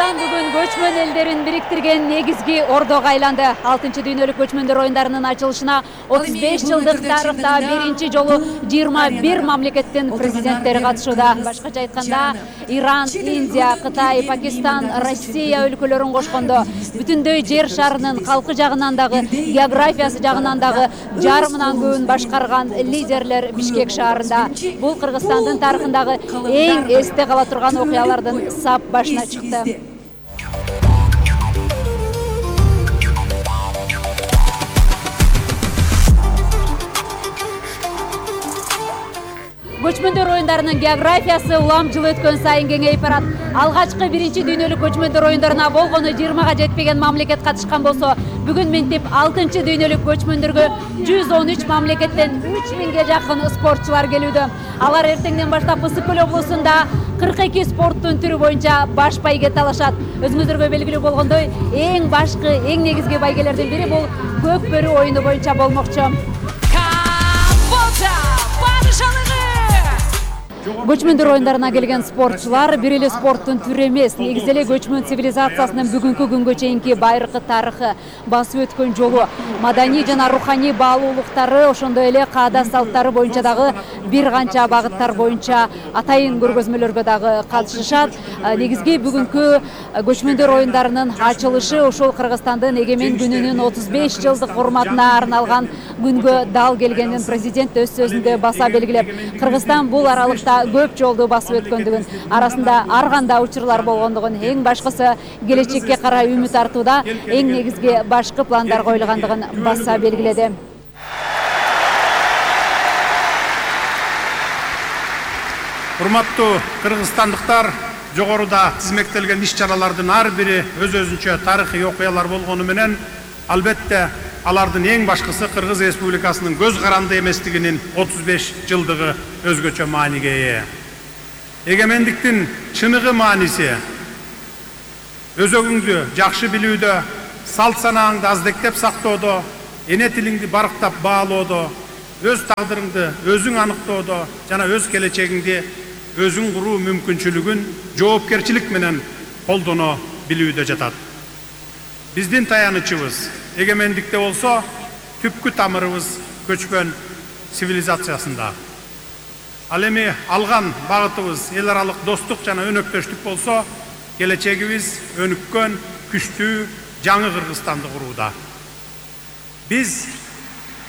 Кыргызстан бүгүн көчмөн элдерин бириктирген негизги ордого айланды. 6-дүйнөлүк көчмөндөр оюндарынын ачылышына 35 жылдык тарыхта биринчи жолу 21 мамлекеттин президенттери катышууда. Башкача айтканда, Иран, Индия, Кытай, Пакистан, Россия өлкөлөрүн кошкондо бүтүндөй жер шарынын калкы жагынан дагы, географиясы жагынан дагы жарымынан көбүн башкарган лидерлер Бишкек шаарында. Бул Кыргызстандын тарыхындагы эң эсте кала турган окуялардын сап башына чыкты. Көчмөндөр оюндарынын географиясы улам жыл өткөн сайын кеңейип барат. Алгачкы биринчи дүйнөлүк көчмөндөр оюндарына болгону 20га жетпеген мамлекет катышкан болсо, бүгүн мынтип 6-дүйнөлүк көчмөндөргө 113 мамлекеттен 3000ге жакын спортчулар келүүдө. Алар эртеңден баштап Ысык Көл облусунда 42 спорттун түрү боюнча баш байге талашат. Өзүңүздөргө белгилүү болгондой, эң башкы, эң негизги байгелердин бири бул көк бөрү оюну боюнча болмокчу. Көчмөндөр оюндарына келген спортчулар бир эле спорттун түрү эмес, негизи эле көчмөн цивилизациясынын бүгүнкү күнгө чейинки байыркы тарыхы, басып өткөн жолу, маданий жана руханий баалуулуктары, ошондой эле каада салттары боюнча дагы бир канча багыттар боюнча атайын көргөзмөлөргө дагы катышышат. Негизги бүгүнкү көчмөндөр оюндарынын ачылышы ошол Кыргызстандын эгемен күнүнүн 35 жылдык урматына арналган күнгө дал келгенин президент өз сөзүндө баса белгилеп, Кыргызстан бул аралыкта көп жолду басып өткөндүгүн, арасында ар кандай учурлар болгондугун, эң башкысы келечекке карай үмүт артууда, эң негизги башкы пландар коюлгандыгын баса белгиледи. Урматтуу кыргызстандыктар, жогоруда тизмектелген иш-чаралардын ар бири өз-өзүнчө тарыхый окуялар болгону менен, албетте алардын эң башкысы Кыргыз Республикасынын көз каранды эместигинин 35 жылдыгы өзгөчө мааниге ээ. Эгемендиктин чыныгы мааниси өзөгүңдү жакшы билүүдө, салт санааңды аздектеп сактоодо, эне тилиңди барктап баалоодо, өз тагдырыңды өзүң аныктоодо жана өз келечегиңди өзүң куруу мүмкүнчүлүгүн жоопкерчилик менен колдоно билүүдө жатат. Биздин таянычыбыз эгемендикте болсо, түпкү тамырыбыз көчмөн цивилизациясында. Ал эми алган багытыбыз эл аралык достук жана өнөктөштүк болсо, келечегибиз өнүккөн, күчтүү, жаңы Кыргызстанды курууда. Биз